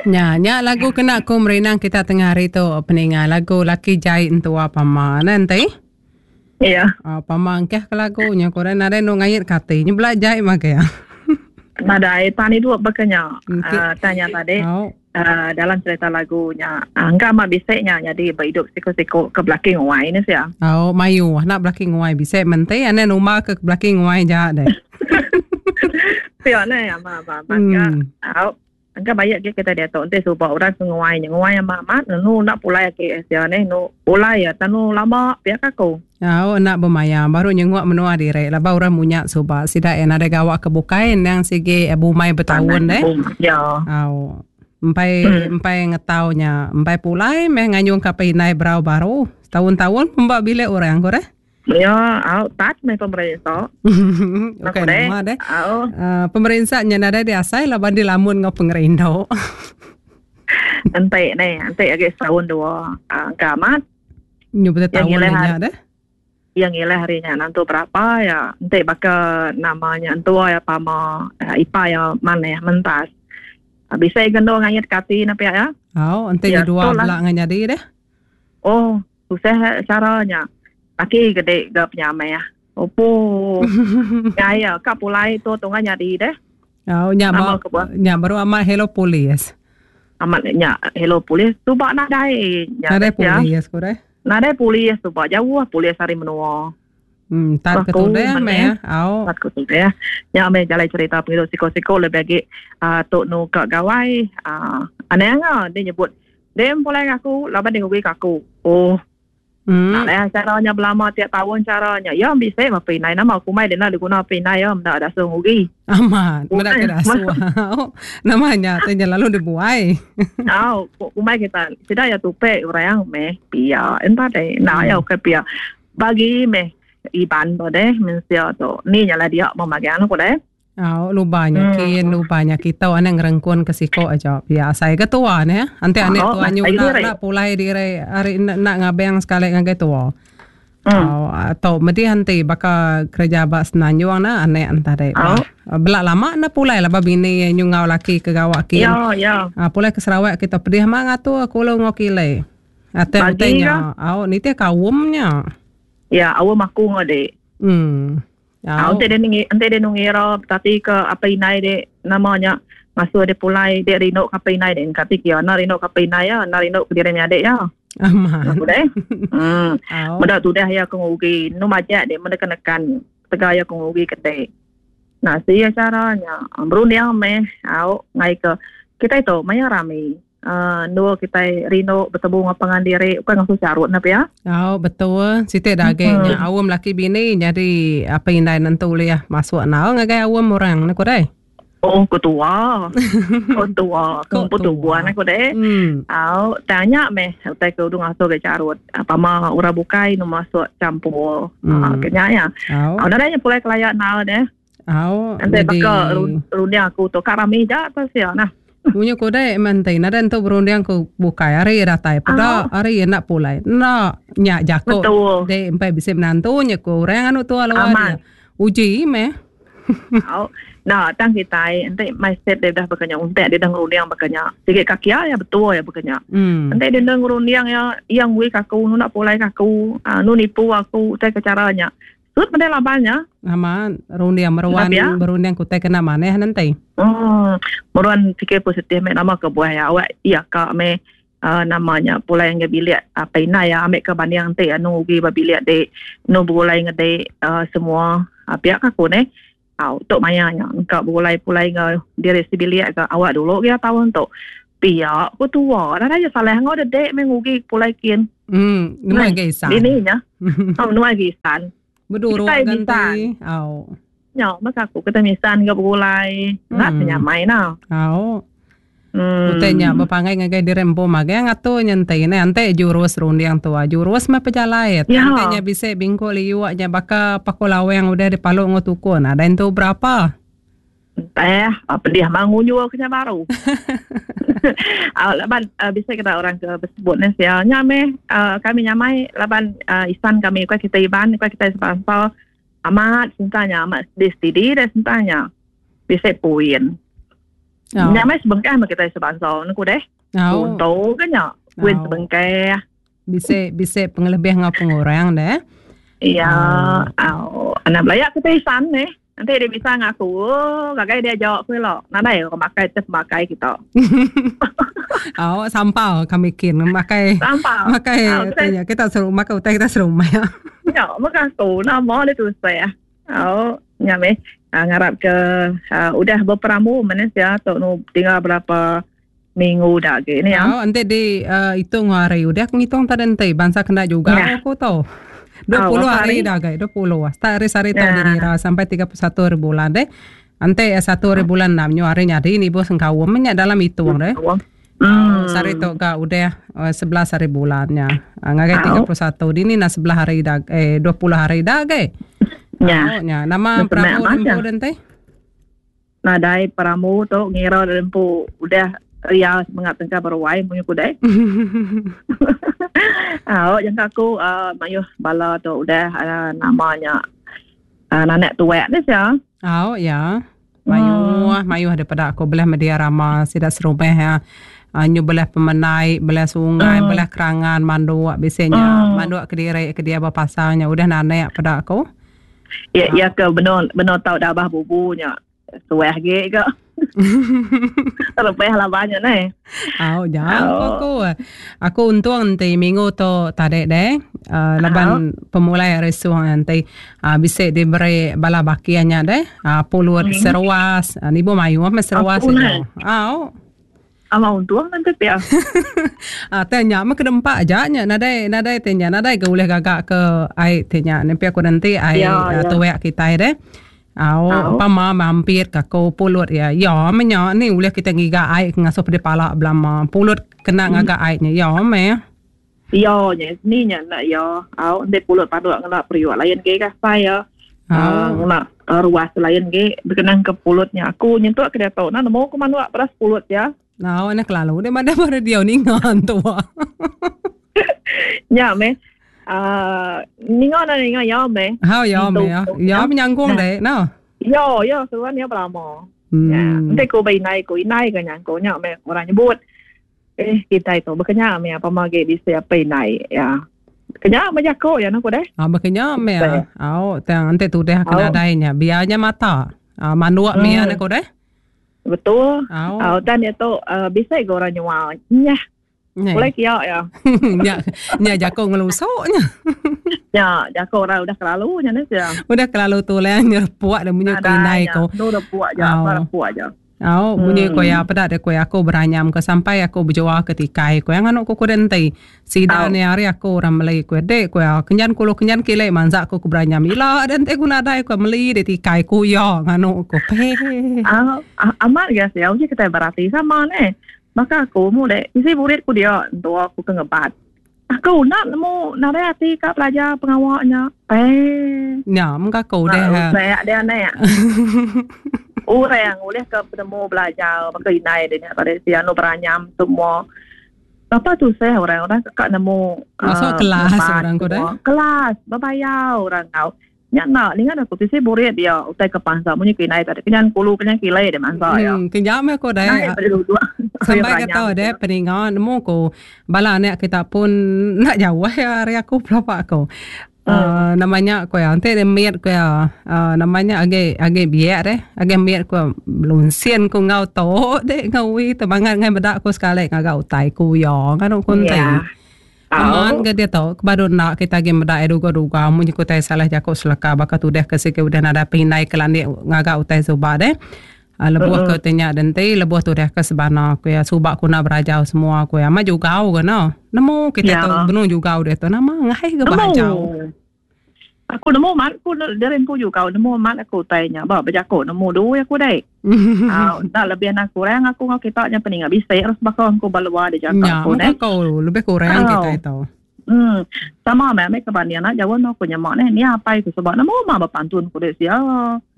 Nya, nya lagu kena ku merinang kita tengah hari tu peninga lagu laki jai entua pama ne enti. Ya. Oh, pama engkeh ke lagu nya ku nadai nu ngait ke ati. Nya bela jai mah ya. Nadai tani dua bakanya. Okay. Uh, tanya tadi. Oh. Uh, dalam cerita lagu nya uh, engka amat bisi nya jadi beridup siku-siku ke belaki nguai ni sia. Oh, mayu nak belaki nguai bisi menti ane numa ke belaki nguai ja deh. Sia ne ama ama amat ka. Au. Engka bayak agi kita diatu enti suba orang ke nguai nya nguai amat amat nunu enda pulai agi sia neh nu pulai ya tanu lama pia ka aku. Au enda bemaya baru nyenguk menua diri laban orang munya suba sida iya nadai gawa ke bukai endang sigi bumai betaun deh. Ya. Au empai empai ngetau nya empai pulai meh nganyung ka indai berau baru setaun-taun pemba bilik orang ku deh. Ya, au tat meh pemerinsa. Okey, nama deh. Au. Uh, pemerinsa nya nadai diasai laban dilamun enggau pengerindu. Enti ne, enti agi setahun dua, uh, engka amat. Nyu betul tahun nya deh. Yang ngilah hari nya nantu berapa ya, enti baka namanya entua ya pama, uh, ipa ya maneh mentas. Uh, bisa gendo ngayit kati na pia ya. Au, enti ya, dua bela ngan jadi deh. Oh, Susah cara nya. Laki gede ga penyamai ah. Opo. Gaya ka pulai tu tungga nyadi deh. Oh, nya ba, nya baru amat hello police. Amat nya hello police tu ba nadai. Nya nadai police ko deh. Nadai police tu ba jauh police ari menua. Hmm, tat ke tudeh meh. Au. Tat ke tudeh. Nya meh jalai cerita pengidup siko-siko lebih agi uh, tu nu ka gawai uh, aneh nga dia nyebut Dem pulai ngaku laban dia ngugi ke aku. Oh. Hmm. Nak lah caranya belama tiap tahun caranya. Ya bisi mah pinai nama aku mai dia nak diguna pinai ya menda ada suruh ngugi. Amat, menda ke dasuh. Nama nya tu nya lalu dibuai. Au, kumai kita sida ya tupe orang meh pia. Entah deh, nak ya ke pia. Bagi meh Iban tu deh mensia tu. Ni nya lah dia memagang aku deh. Au luba nya hmm. kin luba nya kita ane ngerengkun ke siko aja pia asai ke tua ne ante ane tua nyu nak nak pulai diri ari nak, nak ngabeng sekali ngagai tua. Hmm. Au atau medi hanti baka kerja ba Semenanjung na ane entah dek. Au. Bela lama na pulai lah ba bini nyu ngau laki ke gawa kin. Ya ya. Ha, pulai ke Sarawak kita pedih ma ngatur kulu ngau kile. Ate utai nya. Au nitih kaum nya. Ya, awam aku ngau dek. Hmm. Au enti dia enti dia ngira betati ke apai indai dia nama nya ngasuh dia pulai dia rindu ke apai indai dia kati kia enda rindu ke apai indai iya enda rindu ke diri menyadi iya. Amat. Aku deh. Hmm. Meda tudah iya ke ngugi nu majak dia meda nekan tegal iya ke ngugi ke dek. Nah sia cara nya berunding meh au ngai ke kitai tu maya rami. Uh, endur kitai rindu betemu enggau pangan diri bukan ngasuh carut ne pia. Au betul siti da agi hmm. nya awam laki bini nyadi apa indai nentu ulih masuk nau ngagai awam orang ne ku dai. Oh ku tua. Ku tua, ku tubuhan aku deh. Hmm. Au tanya meh utai ke udah ngasuh ke carut. Apa ma orang bukai nu masuk campur. Hmm. Uh, kenya ya. Au. Au dah pulai kelayak nau deh. Au. Enti baka runding aku tu ka rami ja tu sia nah. Munyi ku deh menti nadai entu berunding ku bukai hari datai peda hari enda pulai. Enda nya jaku deh empai bisi menantu nya ku orang anu tua luar dia. Uji meh. Au. Nah tang kitai enti mindset dia dah baka nya untek dia dah ngerunding baka nya. Sigi kaki iya betul iya baka nya. Enti dia enda ngerunding iya iya ngui ka aku nu enda pulai ka aku nu nipu aku utai ke cara nya. Sut meda laban nya. Amat, runding meruan ya? berunding kutai kena manah nanti. Hmm, meruan fikir positif me nama ke buah ya awak iya ka me uh, namanya pulai nge bilik apa ina ya ambil ke banding enti anu ugi ba bilik dek nu begulai ngede uh, semua uh, pihak aku ne. Au tok maya nya engka begulai pulai nge diri sebilik ke awak dulu ya tahun tu. Pia ku tua dah ya salah ngau dedek me ngugi pulai kin. Hmm, nuai ga isan. Dini nya. Oh, nuai ga isan. Beduruk ganti. Au. Nya, masa aku kita misan ga begulai. Enggak hmm. nyamai na. Au. Hmm. Utai nya bepangai ngagai diri empu magang ngatur nya enti ne enti jurus runding tua jurus meh pejalai ya. Enti nya bisi bingkuk liuk nya baka paku lawang udah dipalu enggau tukun ada entu berapa. Entah, ah, pedih mah ngunjur ke nya baru. uh, laban uh, bisa kita orang ke bersebut ni sia nya meh uh, kami nyamai laban uh, isan kami bukan kita Iban bukan kita sebangsa amat sentanya amat di stidi dah sentanya bisa puin. Nya meh sebengkah meh kitai sebansa ne ku deh. Untung ke nya kuin sebengkah. Bisi bisi pengelebih enggau pengurang deh. Iya, au. Anak belaya kitai isan neh. Enti dia bisa ngaku, oh, gagai dia aja aku ila. Nadai orang makai teh pemakai kita. Au, sampal kami kin makai. Sampal. Makai tanya kita serumah ke utai kita serumah. Ya, maka aku nama dia tusah. Au, nya meh. Uh, ngarap ke uh, udah berperamu manusia tu nu tinggal berapa minggu dah agi ni ya. Oh, enti di uh, hitung hari udah aku ngitung tadi enti bansa kena juga ya. aku tu. 20 oh, hari dah gai, 20. Start hari sehari tu ya. dikira sampai 31 hari bulan deh. Enti 1 hari bulan 6 nyu hari nyadi ni bos sengkawum nya dalam hitung deh. Hmm. Sehari tu ga udah 11 hari bulan nya. Ngagai 31 dini na 11 hari dah eh 20 hari dah gai. Ya. Oh, nya. Nama Prabu Rempu dente? Nadai perambu tu ngira diri empu udah ria semengat tengka beruai munyi ku deh. Au jangka aku uh, mayuh bala tu udah uh, nama nya uh, nanak tuak ni sia. Au ya. Mayuh hmm. mayuh daripada aku belah media rama sida serumah ya. Uh, nyu belah pemenai, belah sungai, hmm. belah kerangan, manduk bisanya hmm. manduk ke diri ke dia berpasangnya udah nanak pada aku. Ya, ya ke benung benung tau dabah bubu nya. Suah ge ke. Terlebih lah banyak ni. Au ja aku. Aku untung enti minggu tu tadi deh. Uh, laban uh, pemulai hari suh nanti uh, bisa diberi bala bakia nya deh. Uh, pulut hmm. seruas, uh, nibu mayuh meh seruas itu. Au. Ama untung nanti pia. Ah, teh nya meh kena empa aja nya nadai nadai teh nya nadai ga ulih gaga ke ai teh nya nempi aku nanti ai ya, ya. tuek kitai deh. Au, pama mampir ka aku pulut ya. Ya meh nya ni ulih kita ngiga ai ke ngasuh pedih pala belama. Pulut kena hmm. ngaga ai nya. Ya meh. Ya nya ni nya nak ya. Au enti pulut panduk ngena periuk lain ge ka sai ya. Au ngena ruas lain ge bekenang ke pulut nya. Aku nyentuk ke diatu nah nemu ku manuk peras pulut ya. Au nya kelalu deh madah ba radio ninga entua. Nya meh. Uh, ninga na ninga ya meh. Ha ya meh ya. Ya menyangkung deh no. Ya ya seruan ya belama. Hmm. Ya, enti ku ba inai ku inai ke nyangkung nya meh orang nyebut. Eh kitai tu bekenya meh apa agi bisi apai indai ya. Kenya meh jaku ya ku deh. Ah bekenya meh. Au tang enti tudah ke nadai nya biar nya mata. Ah manduk meh hmm. ku deh. Betul. Au Au tan dia tu uh, bisi ga orang nyual. Nyah. Boleh kia ya. Nya nya jaku ngelusuk nya. Nya jaku orang udah kelalu nya ne sia. Udah kelalu tulang nyerepuk dah munyi ku indai ku. Tu repuk aja, repuk aja. Au, munyi ko iya peda deh ko iya aku beranyam ke sampai aku bejual ke tikai ko iya nganu ku kudin enti. Sida ni ari aku orang meli ko iya dek ko iya kenyan kulu kenyan kili mansa aku ke beranyam ila deh enti ku nadai ko meli deh tikai ku iya nganu ku. Peh. Au, amat ga sia uji kitai berati sama neh. Baka aku mu deh bisi murid ku dia entua aku ke ngebat. Aku enda nemu nadai ati ka belajar pengawa nya. Peh. Nya mengka aku deh. Rusak deh anak. Orang ulih ke penemu belajar baka indai deh nya tadi si anu beranyam semua. Berapa tusah orang orang ka nemu masuk uh, kelas orang ko deh. Kelas berbayar orang kau. Nya enda ninga aku bisi burit dia utai ke pansa munyi ke indai tadi kenyan kulu kenyan kilai dia mansa iya. Hmm kenyap meh aku deh. Sampai ke tau deh peninga nemu ku bala anak kita pun enda jauh iya ari aku pelaba aku. Uh, nama nya ku iya enti dia mit ku iya uh, nama nya agi agi biak deh agi mit ku lunsin ku enggau tu deh enggau wi tebangat ngai meda ku sekali ngaga utai ku iya nganu ku enti. Yeah. Amat ga diatu, ke badu enda kita agi meda iya duga-duga munyi ku utai salah jaku seleka baka tudah ke sigi udah nadai pengindai ke landik ngaga utai suba deh. Lebuh ke utai nya denti lebuh tudah ke sebana ku iya suba ku enda berajau semua ku iya. Amat jugau ga no. Nemu kita tu benung jugau diatu nama ngaih ga berajau. Aku nemu mat aku diri empu jugau nemu mat aku utai nya ba bejaku nemu dui aku dai. Au enda lebih enda kurang aku enggau kita nya peninga bisi terus baka aku ba luar dijaka aku neh. Nya lebih kurang kita itu. Hmm sama meh ambi ke banding enda jauh enggau aku nyema neh nia apai ku suba nemu mah bepantun ku dei sia.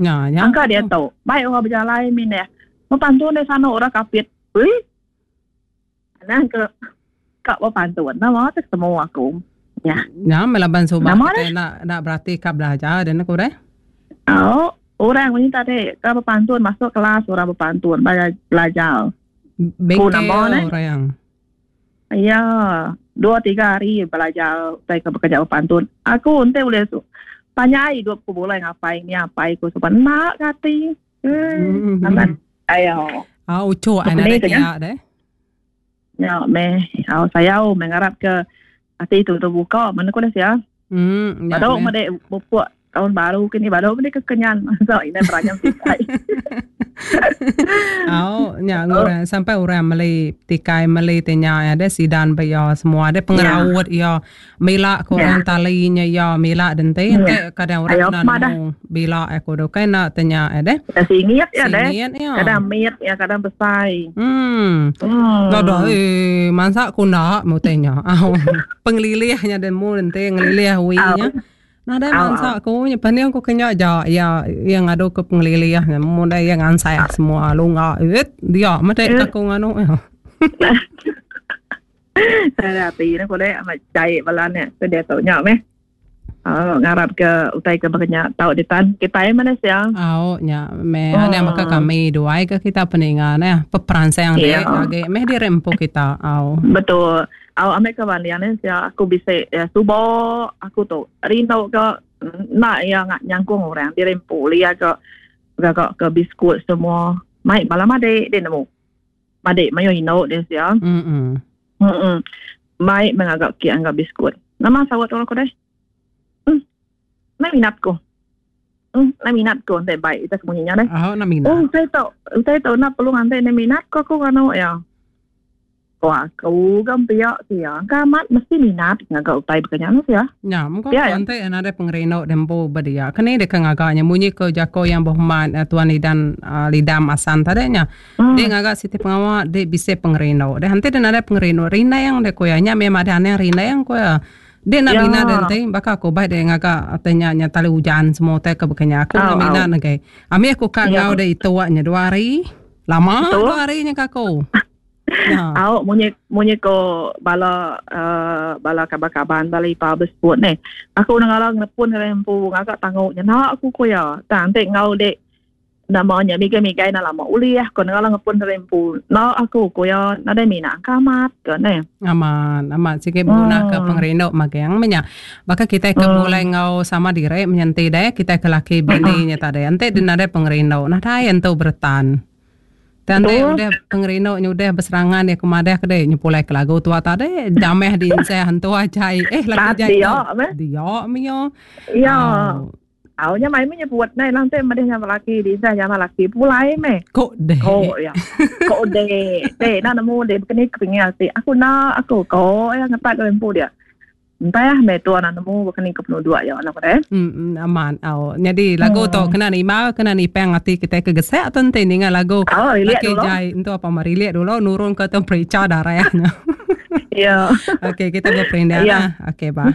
Nya nya. Angka diatu bai orang bejalai mineh bepantun dei sanu orang kapit. Ui. Anang ke ka bepantun nama te ketemu aku. Nya. Nya meh laban suba kitai enda enda berati ka belajar deh ne ku deh. Au. Orang munyi tadi ke bepantun masuk kelas orang bepantun belajar. Ku nama neh. Orang. Ya, dua tiga hari belajar utai ke bekeja bepantun. Aku enti ulih su panjai idup ku bulai ngapai ni apai ku suba enda ke ati. Hmm. Amat ayo. Ah uchu anak dia deh. Nya meh au sayau meh ngarap ke ati tu terbuka mana ku deh sia. Hmm, nya Badu meh dek pupuk tahun baru kini badu meh ke kenyan masa ina beranyam tikai. Au nya ngurang sampai orang meli tikai meli ti nya ya deh sidan ba iya semua deh pengeraut iya mila ko orang tali nya iya mila denti enti kadang orang enda nemu bila aku tu kai enda ti nya ya deh. Singit ya deh. Kadang mit ya kadang besai. Hmm. Dah eh mansa ku enda mu ti nya. Au pengelilih nya deh mu enti ngelilih wi nya. Nadai mansa ku nya pening ku ke nya ja iya iya ngadu ke pengelilih nya mu deh iya ngansai semua lunga it dia meh deh aku nganu iya. Sada ati ne pulai amat jai bala ne ke diatu nya meh. Uh, ngarap ke utai ke baka nya tau ditan kitai meh sia. Au nya meh oh. Anang baka kami duai ke kita peninga neh peperansang yeah. agi meh diri empu kita. Au. Betul. Au ambil ke banding ne sia aku bisi ya, subo aku tu rindu ke nak ya nyangkung orang diri empu lia ke gaga ke biskut semua. Mai bala madik dia nemu. Madik mayuh indu dia sia. Mm. Mm. Mai mengaga kek enggau biskut. Nama saut orang ku deh? Hmm. Nai minat ku. Hmm, nai minat ku enti baik kita semunyi nya deh. Oh, nai minat. Oh, utai tu, utai tu nak perlu nganti nai minat ku aku nganu ya. Ko aku ga pia sia. Engka amat mesti minat ngaga utai baka nya sia. Nya, mung ko enti nadai pengerindu dempu ba dia. Keni deka ngaga nya munyi ko jako yang berhormat Tuan Lidan Lidam Asan tadi nya. Dek ngaga siti pengawa dek bisi pengerindu. Deh enti dek nadai pengerindu rindang dek ku iya. Nya meh madah anang rindang ku iya. Dek enda minat dek enti baka aku bai dek ngaga utai nya nya tali ujan semua utai ke baka nya. Aku enda minat ngagai. Ambi aku ka enggau dek ituk nya dua hari. Lama dua hari nya ka aku. Ya. Au munyi munyi ko bala uh, bala kaban-kaban bala ipa besebut ni. Aku nengala ngelepun ngagai empu ngaga tangu nya nak aku ku ya. Tang enti enggau dek nama nya migai-migai enda lama ulih ko nengala ngepun ngagai empu. Nak aku ku ya nadai minat ka amat ke ne. Amat amat sigi beguna ke pengerindu magang meh nya. Baka kitai ke begulai enggau sama diri menyenti deh kitai ke laki bini nya tadi. Enti deh nadai pengerindu nadai entu beretan. Tang enti udah pengerindu nya udah beserangan iya ke madah ke deh nyepulai ke lagu tua tadi jamah di insah entu ajai eh laki jai tu. Dia meh iya. Iya. Au nya mai meh nyebut nai lang te madih nya laki di insah nya laki pulai meh. Ko deh. Ko iya. Ko deh. Deh na nemu deh bekeni ke pingin ati. Aku na aku ko iya ngetat ke empu dia. Entah meh tuan nemu baka ni ke penuduk iya anak deh. Hmm amat au. Nyadi lagu tu kena nimbal kena nipang ati kitai ke gesek tu enti ninga lagu. Oh, relate dulu. Jai entu apa merilik dulu nurun ke temperature darah nya. Ya. Okey kita beperindang ya. Okey bah.